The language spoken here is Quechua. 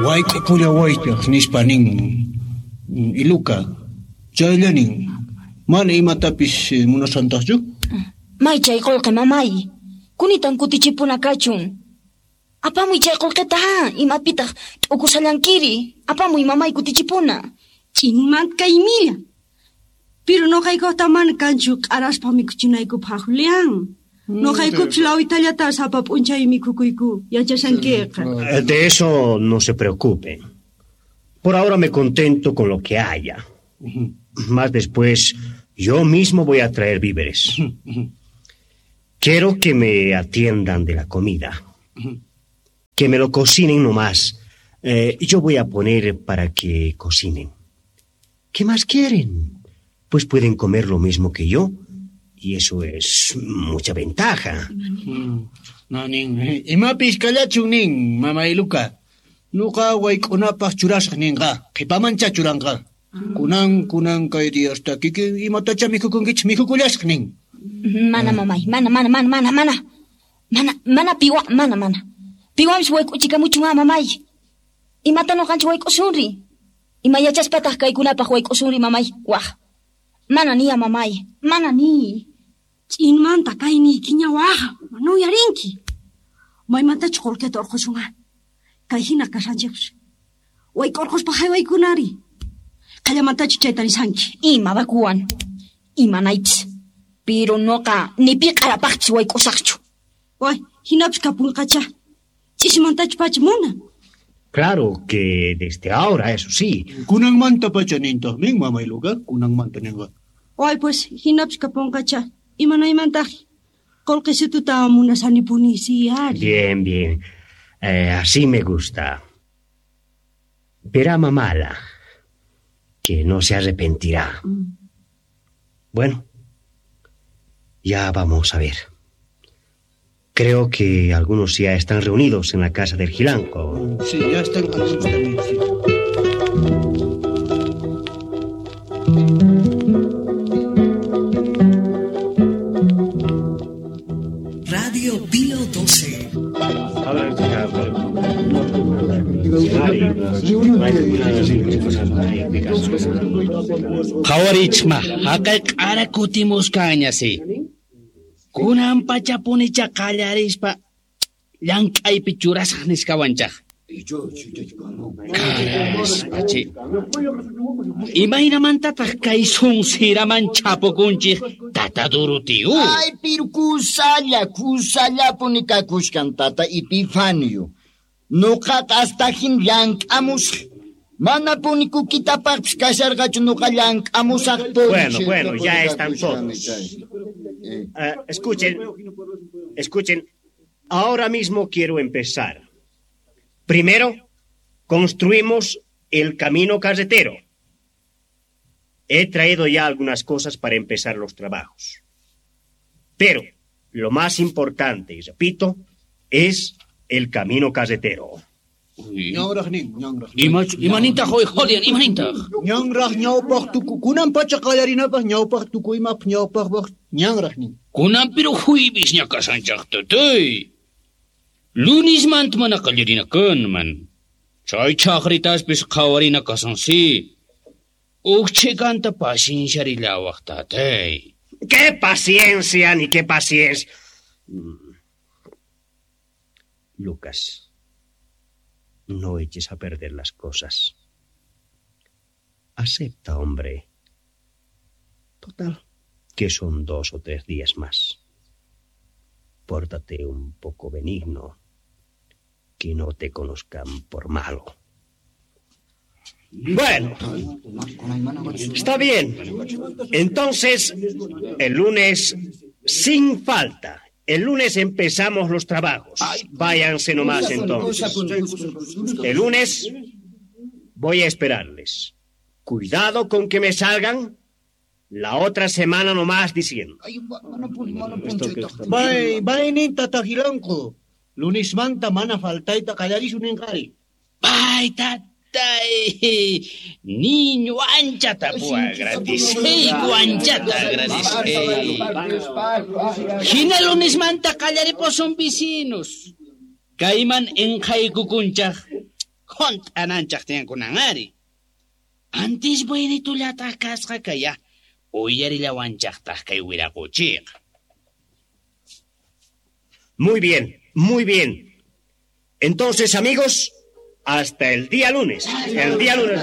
Wayk'upullawaychaq nispa nin Iluka. Chaylla nin. Mana imatapis munasantaqchu? May chay qullqi mamay. Kunitan kutichipuna kachun. Apamuy chay qullqita ha, imapitaq t'ukusallankiri. Apamuy mamay kutichipuna. Ch'inmanta kay milla. Pero noqaykuta mana kanchu q'araspa mikhuchinaykupaq, Julián. Noqaykupis lawitallata sapa p'unchay mikhukuyku, yachashankiqa. De eso no se preocupen. Por ahora me contento con lo que haya. Más después, yo mismo voy a traer víveres. Quiero que me atiendan de la comida. Que me lo cocinen nomás. Yo voy a poner para que cocinen. ¿Qué más quieren? Pues pueden comer lo mismo que yo. Y eso es mucha ventaja. No, nin. Imapis kallachun nin, mama Iluka. Nuqa wayk'unapaq churasaq ninqa. Qhipamancha churanqa. Kunan, kunan kay diyasta kikin imatacha mikhukunkichis mikhukullasaq nin. Mana mamay, mana, mana, mana, mana, mana. Mana, mana piwa, mana, mana. Piwanpis wayk'uchikamuchun ha, mamay. Imata nuqanchik wayk'usunri? Ima yachaspataq kaykunapaq wayk'usunri, mamay? Waj. Mana niya, mamay. Mana ni. Ch'inmanta kayniykiña waja, mana uyarinki. Maymantachu qullqita urqusun ha? Kay hina kashanchikpis. Wayk'urquspa haywaykunari. Qallamantachu chayta nisanki? Ima bakuwan. Imanaypis. Pero noqa ni pi q'arapaqpis wayk'usaqchu. Way, hinapis kapunqacha. Ch'isimantachu pacha munan. Claro que desde ahora, eso sí. Kunanmanta pacha nintaq nin, mama Iluka. Kunanmanta ninqa. Way, pues, hinapis kapunqacha. Imanaymantaq qullqisituta munasanipuni, sí, ari. Bien, bien. Así me gusta. Verá mamala, que no se arrepentirá. Bueno, ya vamos a ver. Creo que algunos ya están reunidos en la casa del Gilanco. Sí, ya están algunos también, sí. Radio Pío 12. Qhawarichma, haqay q'ara kutimusqañasi. Kunan pachapunicha qallarispa llank'aypi churasaq nisqawanchaq. Karaspachi. Imaynamantataq kay sunsiraman chapukunchik tata Durutiu? Ay, pero kusalla, kusallapuni kakushkan tata Epifanio. Nuqaqa astajin llank'amusaq. Manapuni kukitapaqpis kasharqachu nuqa llank'amusaqpuni. Bueno, bueno, ya están todos. Escuchen, escuchen. Ahora mismo quiero empezar. Primero, construimos el camino carretero. He traído ya algunas cosas para empezar los trabajos. Pero lo más importante, y repito, es el camino carretero. Ñanraq nin, ñanraq. Imanintaq hoy, Julián, imanintaq. Ñanraq ñawpaq tuku, kunan pacha qallarinapaq ñawpaq tuku imap ñawpaqpaq ñanraq nin. Kunan pero juybis ñakasanchaq tatay. Lunismanta mana qallarina kanman. Chay chaqritaspis qhawarina kasansi. Uj chhikanta pacienciarillawaq tatay. ¡Qué paciencia, ni qué paciencia! Lucas, no eches a perder las cosas. Acepta, hombre. Total, que son 2 o 3 días más. Pórtate un poco benigno, que no te conozcan por malo. Bueno, está bien. Entonces, el lunes, sin falta. El lunes empezamos los trabajos. Váyanse nomás entonces. El lunes voy a esperarles. Cuidado con que me salgan la otra semana nomás diciendo. Bay, bay nin tata Gilanco. Lunes manta mana faltaita qallarisun ninqari. Bay, tatay. Niño anchata agradeceiku, anchata agradeceiku. Hina lunes manta qallaripusun vecinos. Kayman enqaykukunchaq. Hunt'ananchaq tiyan ari. Antis buenitullataq kasqa kaya uyarillawanchaqtaq kay wiraquchiqa. Muy bien, muy bien. Entonces, amigos, hasta el día lunes. El día lunes.